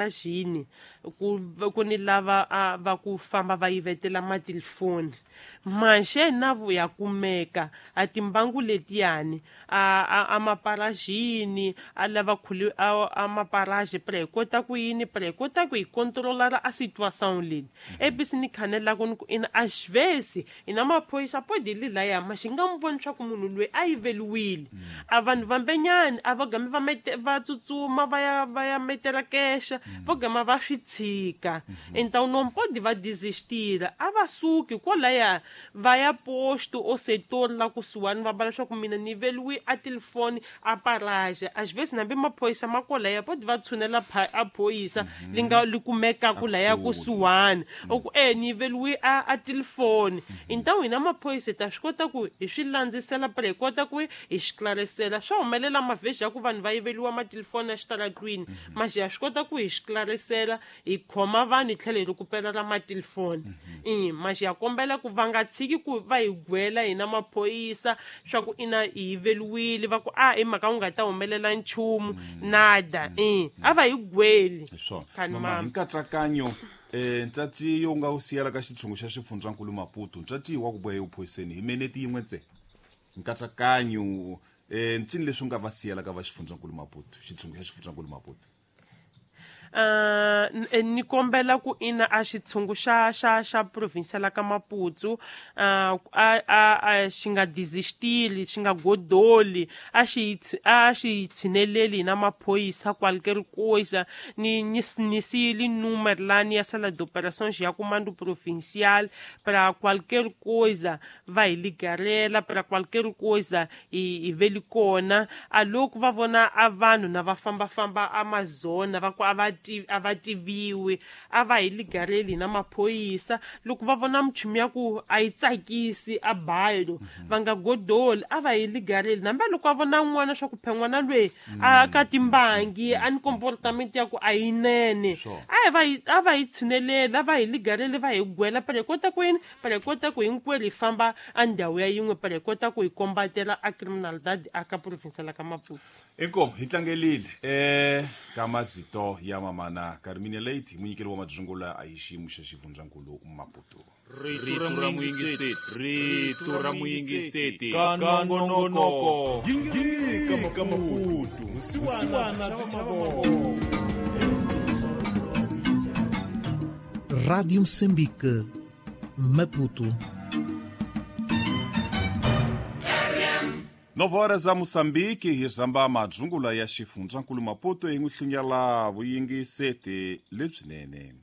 Xini ku ku ni lava a va ku famba va yivetela matilifoni manxe na vu ya kumeka a timbangu letiyani a a a maparaxini a lava khuli a a maparaxi pra hi kota ku yini pra hi kota ku hi controlar a situação leyi ebisi ni khanelaku ni ku ina a xivesi ina maphorisa podi li laya ma xi nga n'wi voni swa ku munhu loyi a yiveliwile a vanhu vambenyani a va game va mete va tsutsuma va ya va ya metela kexa vo gama va swi tshika então não pode va desistir a va suki kwalaya va ya posto o setor la kusuhani va va leswaku mina ni yiveliwe a telefoni a paraje às vezes nambi maphorisa ma kwalaya pode va tshunela a phorisa li nga li kumekaku laya kusuhani u ku e ni yiveliwe a a telefoni então hina maphorisa hi ta swi kota ku hi swi landzisela phela hi kota ku hi xiklarisela swa humelela mavhexi ya ku vanhu va yiveliwa matelefoni exitaratwini maxi ha swi kota ku hi xiklarisela hi khoma vanhu hi tlhela hi rikupelela matelefoni i maxi ya kombela ku va nga tshiki ku va hi gwela hina maphorisa swa ku ina hi yiveliwile va ku a hi mhaka ku nga ta humelela nchumu nada i a va hi gweli hi swona Khani mama hi mama. nkatsakanyo um ntsatsi yo nga wu siyela ka xitshungu xa xifundzankulu maputo ntsatsi wa ku boha evuphoriseni hi meneti yin'we ntsena nkatsakanyo um ncini leswi u nga va siyela ka va xifundzankulu maputo xitshungu xa xifundzankulu maputo Ni kombela ku ina a xitshungu xa xa xa province la ka Maputo a a a xi nga desistili xi nga godoli a xi a xi tshineleli na maphorisa qualquer coisa ni ni ni siyile número lani ya sala d'operações ya comando provincial para qualquer coisa va hi ligarela para qualquer coisa hi hi ve li kona a loko va vona a vanhu na va fambafamba a mazona va ku a va ti a va tiviwi a va hi ligareli na maphorisa loko va vona minchumu ya ku a yi tsakisi a bayo va nga godoli a va hi ligareli nambe loko a vona n'wana swa ku phe n'wana lweyi a ka timbangi a ni comportament ya ku a yinene a hi va hi a va hi tshineleli a va hi ligareli va hi gwela phela hi kota ku yini Para hi kota ku hinkwerhu hi famba a ndhawu ya yin'we para hi kota ku hi kombatela a criminalidade a ka province la ka Maputo. Inkomu hi tlangelile e ka mazito ya mamana Carminia Late munyikeli wa madzungula a hi xiyimo xa xifundzankulu Maputo. Rito ra muyingiseti rito ra muyingiseti ka nongonoko gingirika Maputo vusiwana byi chava mavoko. Rádio Moçambique, Maputo. 9 horas a Moçambique hi rhamba madzungula ya xifundzankulu Maputo hi n'wi hlunyela vuyingiseti lebyinene.